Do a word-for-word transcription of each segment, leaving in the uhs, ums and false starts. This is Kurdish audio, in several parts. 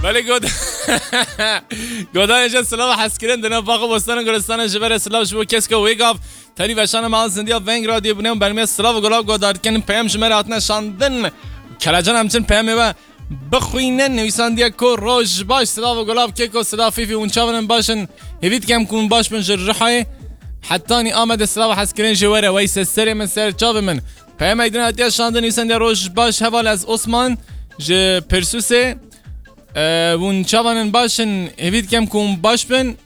Belê god. Godanê je silav hezkirin dine bax û bostanan gulistana ji vere silav ji bo kesko wê gav. Tenî veşana mal zindiya veng radyo bûne û bermê silav û gulav godar dikin peyam ji me re hatine şandin. Kelecan em çin peyamê we bixwînin nivîsandiye ku roj baş silav û gulav keko silav fîfî hûn çavirin baş in. Hêvî dikem ku hûn baş bin ji Rihayê. Hetanî Amedê silav hezkirin ji were wey se serê min ser çavê min. Peyama Aydin hatiye şandin nivîsandiye roj baş heval ez Osman ji Pirsûsê. E, hûn çavan in baş in? Hêvî dikem ku hûn baş bin.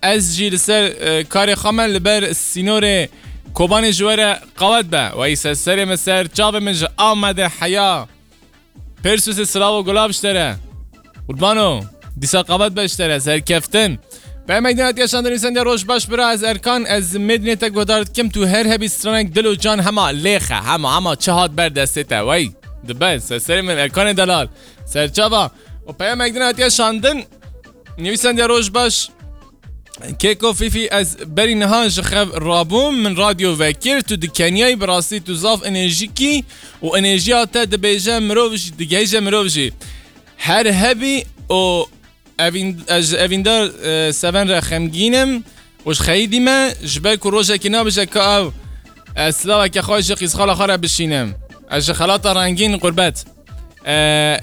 Ez jî li ser, e, karê xwe me li ber sînorê Kobanê ji we re qewet be. Wey se serê min ser çavê min ji Amedê heya. Persûsê silav û gulav ji te re. Qurbano, dîsa qewet be ji te re, serkeftin. Peyama Aydin hatiye şandin nivîsandiye roj baş bira ez Erkan, ez Mêdinê te guhdar dikim, tu her hebî stranek dil û can hema lêxe, hema, hema çi hat ber destê te, wey. Dibe, se serê min Erkanê delal. Serçava. Û peyama Aydin hatiye şandin. Nivîsandiye roj baş. Keko Fîfî ez berî niha ji xev rabûm, min radyo vekir, tu di Kenyayî, bi rastî tu zaf enerjîkî û enerjiya te dibêje mirov jî, digihêje mirov jî. Her hebî û evîn-, ez ji evîndar, e, Seven re xemgîn im û ji xeyîdî me, ji ber ku rojekî nabêje ka ew, e, silaveke xwe ji qîzxala xwe re bişînim. Ez ji xelata rengîn qurbet. E,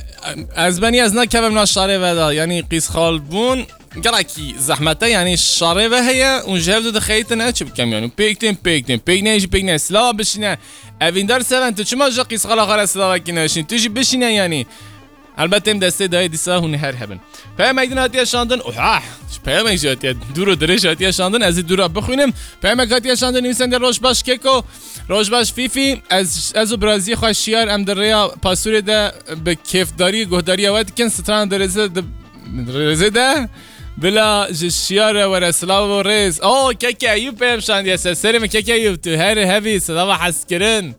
ez benî ez nakevim na şarê ve de, yanî qîzxal bûn gelekî zehmet e, yanî şarê ve heye û ji hev du dixeyitin, ez çi bikem yanî? Pêk tên, pêk tên, pêk neyê jî pêk neyê. Silava bişîne. Evîndar Seven, tu çima ji qîzxala xwe re silavekî neşîn? Tu jî bişîne yanî. Helbet êm destê dayê dîsa hûn her hebin. Peyam Aydin hatiye şandin. Oha! Ji peyamek jî hatiye. Dûr û dirêj hatiye şandin. Ez ê dûra bixwînim. Peyamek hatiye şandin. Nivîsende roj baş keko. Roj baş Fîfî. Ez, ez û biraziyê xwe Şiyar em di rêya pasûrê de bi kêfdarî guhdariya we dikin. Stran di rêzê, di rêzê de. Bila ji Şiyar re were silav û rêz. O, keke Eyûb peyam şandiye ser. Serê min keke Eyûb. Tu her hebî silava hezkirin.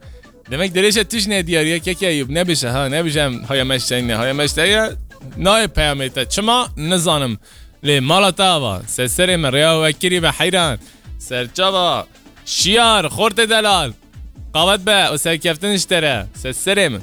Demek dirêşe tu jî nediyar ye, keke Eyûb. Nebêje ha, nebêje em haya me ji te ne, haya me ji te ye. Nayê peyamê te. Çima? Nizanim. Lê mala te ava. Se serê min rêya we kirî be heyran. Serçava. Şiyar, xortê delal. Qawet be û serkeftin ji te re. Se serê min.